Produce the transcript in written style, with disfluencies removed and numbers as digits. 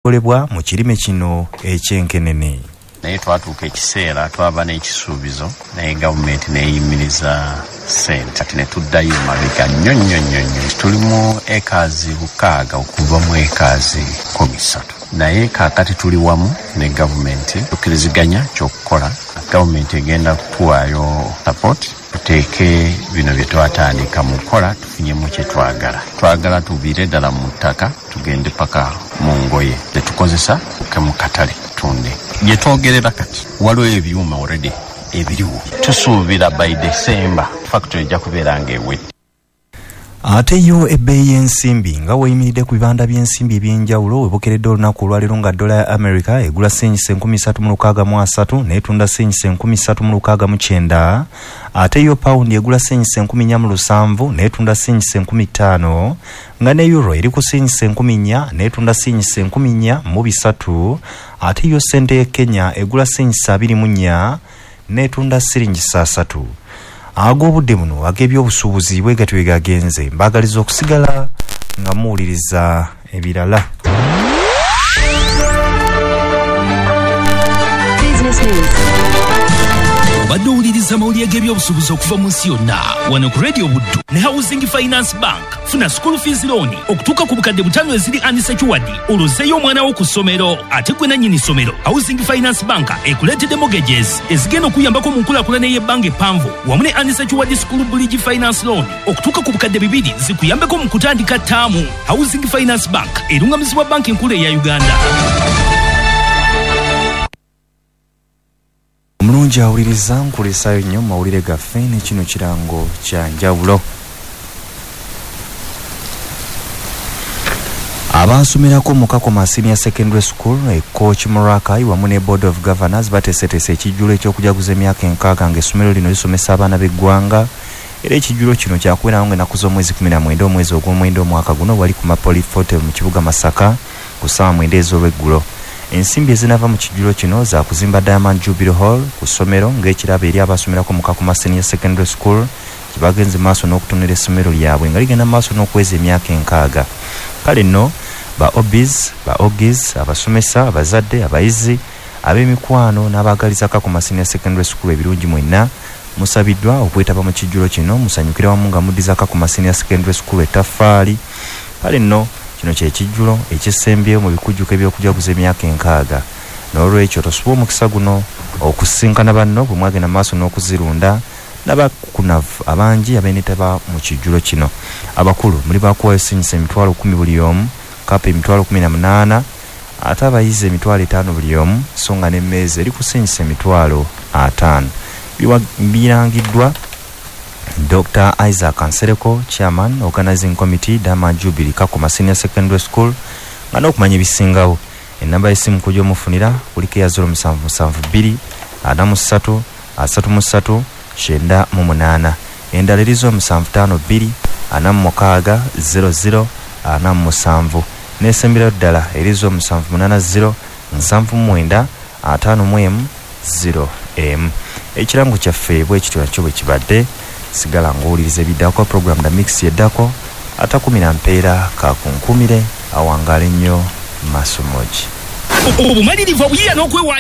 Ebikolebwa mu kirime kino eky'enkenene. Naye twatuuka ekiseera twaba n'ekisuubizo, naye gavumenti neyimiriza sente, kati ne tuddayo mabega nnyo nnyo nnyo nnyo. Tuli mu ekaazi 6 okuva mu ekaazi 13, naye kaakati tuli wamu ne gavumenti tukkiriziganya kyokukola. Gavumenti egenda kutuwaayo support tuteeke bino bye twatandika mu kukola, tufunyemu kye twagala. Twagala tuviire ddala mu ttaka tugende paka mu ngoye zetukozesa tuke mu katale tunde. Gye twogerera kati waliwo ebyuma already ebiriwo, tusuubira by December factory ejja kubeera ng'ewedde. Ate yo ebbeeyi y'ensimbi nga weeyimiridde ku bibanda by'ensimbi eby'enjawulo webukeredde olunaku olwaleero nga dola ya America egula siringisa 3663 n'etunda siringisa 3669, ate yo pawundi egula siringisa 1407 n'etunda siringisa 5000, nga ne euro eri ku siringisa 1400 n'etunda siringisa 1403, ate yo ssente y'e Kenya egula siringisa 24 n'etunda siringisa 3. Ag'obudde buno ag'ebyobusuubuzi bwe gatyo bwe gagenze, mbaagaliza okusigala nga muwuliriza ebirala. Obadde owuliriza amawulire g'ebyobusuubuzi okuva mu nsi yonna wano ku Radio Buddu ne Housing Finance Bank. Funa school fees loan okutuuka ku 5,000 eziri unsecured, olwozeeyo omwana wo ku ssomero ate gwe nannyini ssomero. Housing Finance Bank ekuleetedde mortgages ezigenda okuyambako mu nkulaakulana ey'ebbanga eppanvu wamu ne unsecured school bridge finance loan okutuuka ku 2,000 zikuyambeko mu kutandika ttaamu. Housing Finance Bank erungamizibwa banki enkulu eya Uganda. Omulungi awuliriza, nkulisaayo nnyo mu mawulire gaffe ne kino kirango kya njawulo. Abaasomerako mu Kakoma Senior Secondary School e Kooki Murakai wamu ne Board of Governors bateeseteese ekijjulo eky'okujaguza emyaka 60 ng'essomero lino lisomesa abaana b'eggwanga. Era ekijjulo kino kyakubeerawo ng'ennaku z'omwezi 19 omwezi ogw'omwenda omwaka guno wali ku Mapoli Hotel mu kibuga Masaka ku ssaawa 9 ez'olweggulo. Ensimbi ezinava mu kijjulo kino za kuzimba Diamond Jubilee Hall ku ssomero ng'ekirabo eri abasomerako mu Kakoma Senior Secondary School gye bagenze maaso n'okutonera essomero lyabwe nga ligenda maaso n'okuweza emyaka 60. Kale nno ba obis, ba ogis, abasomesa, abazadde, abayizi, ab'emikwano n'abaagaliza Kakoma Senior Secondary School ebirungi mwenna musabiddwa okwetaba mu kijjulo kino, musanyukire wamu nga muddiza Kakoma Senior Secondary School ettaffaali. Kale nno kino kye kijjulo ekisembyeyo mu bikujjuko eby'okujaguza emyaka 60. N'olwekyo tosuba omukisa guno okusinkana banno bwe mwagenda maaso n'okuzirunda n'abakukunavu abangi abeneetaba mu kijjulo kino. Abakulu muli bakuwayo siringisa 10,000 buli omu, kapa 18,000, ate abayizi 5,000 buli omu, so nga n'emmeeza eri ku siringisa 50,000. Birangiddwa Dr. Isaac Nsereko, Chairman, Organizing Committee, Diamond Jubilee Kakoma Senior Secondary School, nga n'okumanya ebisingawo ennamba y'essimu kujja omufunira kuliko eya 0772 43 33 98, endala eri 0752 46 00 47, n'esemberayo ddala eri 0780 79 51 0M. Ekirango kyaffe bwe kityo nakyo bwe kibadde. Sigala ng'owuliriza ebiddako program da mix yeddako atakumira mpeera kakunkumire awangaale nnyo masomogi. Obumalirivu obuyiiya n'okwewaayo.